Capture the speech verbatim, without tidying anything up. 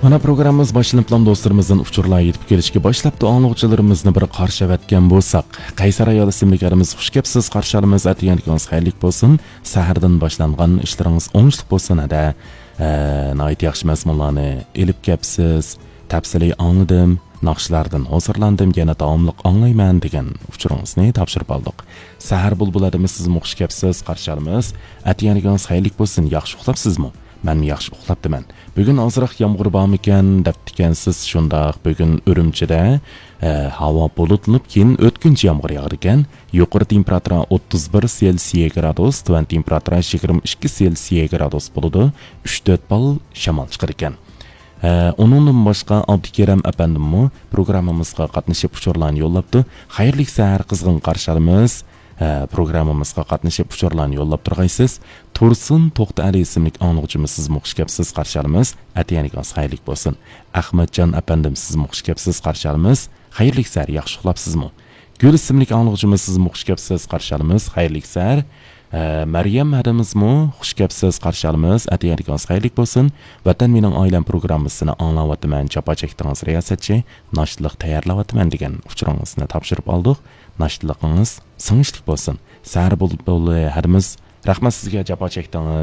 مانا پروگراممىمىز باشلىنىپلا دوستلىرىمىزدىن ئۇچۇرلار يېتىپ كېلىشكە باشلاپتۇ. ئاڭلىغۇچىلىرىمىزنى بىر قارشى ئەۋەتكەن بولساق، قەيسەر ئايال ئىسىملىك ھەدىمىز، «خۇش كەپسىز، قارشى ئالىمىز، ئەتىگەنلىكىڭىز خەيرلىك بولسۇن، سەھەردىن باشلانغان ئىشلىرىڭىز ئوڭۇشلۇق بولسۇن ھەدە. ئە، ناھايىتى ياخشى مەزمۇنلارنى ئېلىپ كەپسىز، تەپسىلىي ئاڭلىدىم، ناخشىلاردىن ھۇزۇرلاندىم، يەنە داۋاملىق ئاڭلايمەن» دېگەن ئۇچۇرىڭىزنى تاپشۇرۇپ ئالدۇق. سەھەر بۇلبۇل ھەدىمىز، سىزمۇ خۇش كەپسىز، قارشى ئالىمىز، ئەتىگەنلىكىڭىز خەيرلىك بولسۇن، ياخشى ئۇخلاپسىزمۇ؟ مەنمۇ ياخشى ئۇخلاپتىمەن. بۈگۈن ئازراق يامغۇر بارمىكەن دەپتىكەنسىز. شۇنداق، بۈگۈن ئۈرۈمچىدە، ئە، ھاۋا بۇلۇتلىنىپ، كېيىن ئۆتكۈنچى يامغۇر ياغىدىكەن. يۇقىرى تېمپېراتۇرا ئوتتۇز بىر سېلسىيە گرادۇس، تۆۋەن تېمپېراتۇرا يىگىرمە ئىككى سېلسىيە گرادۇس بولىدۇ. ئۈچ تۆت بال شامال چىقىدىكەن. ئە، ئۇنىڭدىن باشقا ئابدۇكېرەم ئەپەندىممۇ پروگراممىمىزغا قاتنىشىپ ئۇچۇرلارنى يوللاپتۇ. خەيرلىك سەھەر، قىزغىن قارشى ئالىمىز. ئە، پروگراممىمىزغا قاتنىشىپ ئۇچۇرلارنى يوللاپ تۇرغايسىز. تۇرسۇن توختى ئەلى ئىسىملىك ئاڭلىغۇچىمىز، سىزمۇ خۇش كەپسىز، قارشى ئالىمىز. ئەتىگەنلىكىڭىز خەيرلىك بولسۇن. ئەخمەتجان ئەپەندىم، سىزمۇ خۇش كەپسىز، قارشى ئالىمىز. خەيرلىك سەھەر، ياخشى ئۇخلاپسىزمۇ؟ گۈل ئىسىملىك ئاڭلىغۇچىمىز، سىزمۇ خۇش كەپسىز، قارشى ئالىمىز. خەيرلىك سەھەر. ئە، مەريەم ھەدىمىزمۇ خۇش كەپسىز، قارشى ئالىمىز. ئەتىگەنلىكىڭىز خەيرلىك بولسۇن. ۋەتەن مېنىڭ ئائىلەم پروگراممىسىنى ئاڭلاۋاتىمەن، جاپا چەكتىڭىز رىياسەتچى، ناشتىلىق تەييارلاۋاتىمەن دېگەن ئۇچۇرىڭىزنى تاپشۇرۇپ ئالدۇق. ناشتىلىقىڭىز سىڭىشلىك بولسۇن. سەھەر بۇلبۇلى ھەدىمىز، رەھمەت سىزگە، جاپا چەكتىڭىز.